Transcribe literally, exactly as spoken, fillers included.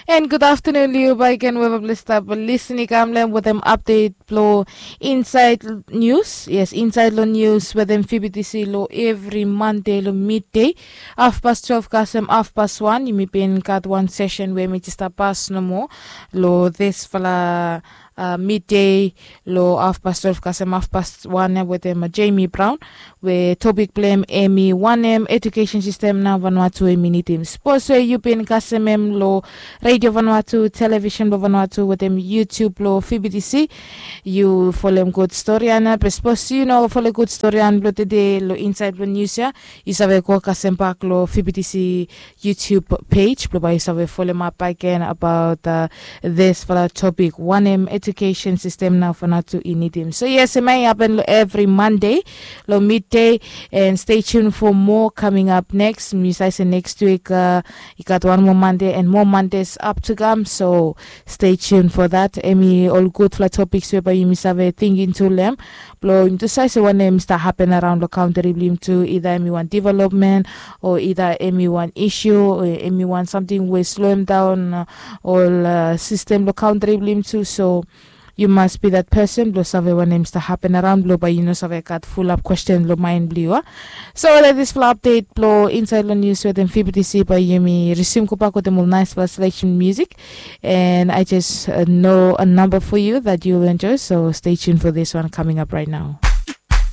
And gud aftanun long yu baik gen we bae blong stap lisin i kam long em wetem apdet blong insaed nius. Yes, insaed long nius wetem fibitisi long evri mande long midde, afpas twelef kasem afpas wan. Yumi bin gat wan sesen we mi jes stap pas nomo long disfala midde long afpas twelef kasem afpas wan ya wetem jemi braon, we topik blong em em i wanem ejukesen sistem nao vanua tu em i nidim. Sapos we yu bin kasem em long redio vanua tu, televisen blong vanua tu wetem yutub blong fibitisi, yu folem gud stori ya nao. Be sapos yu no folem gud stori ya blong tede long insaed blong nius ya, yu save go kasem bak long fibitisi yutub pej blong bae yu save folemap baik gen abaot disfala topik, wanem ejukesen sistem nao vanua tu i nidim. So yes, em ya i hapen long evri mande long midde. And stay tuned for more coming up next. Mi save se next week i gat wan moa mande and more mandes up to come. So stay tuned for that. Em i ol gudfala topiks we bae yumi save tingting tu long em, blong yumi tu save se wanem i stap hapen araon long kantri blong yumi tu, ida em i wan developmen o ida em i wan isu o em i wan samting we sloem daon ol sistem long kantri blong yumi tu. So yu mas bi dat pesen blong save wanem i stap hapen araon blong bae yu no save gat fulap kwesten long maen blong yu a. So dat disfala apdet blong insaed long nius wetem fibitisi, bae yumi risim gobak wetem ol naesfala seleksen musik. And I just know a number for you that you'll enjoy, so stay tuned for this one coming up right now.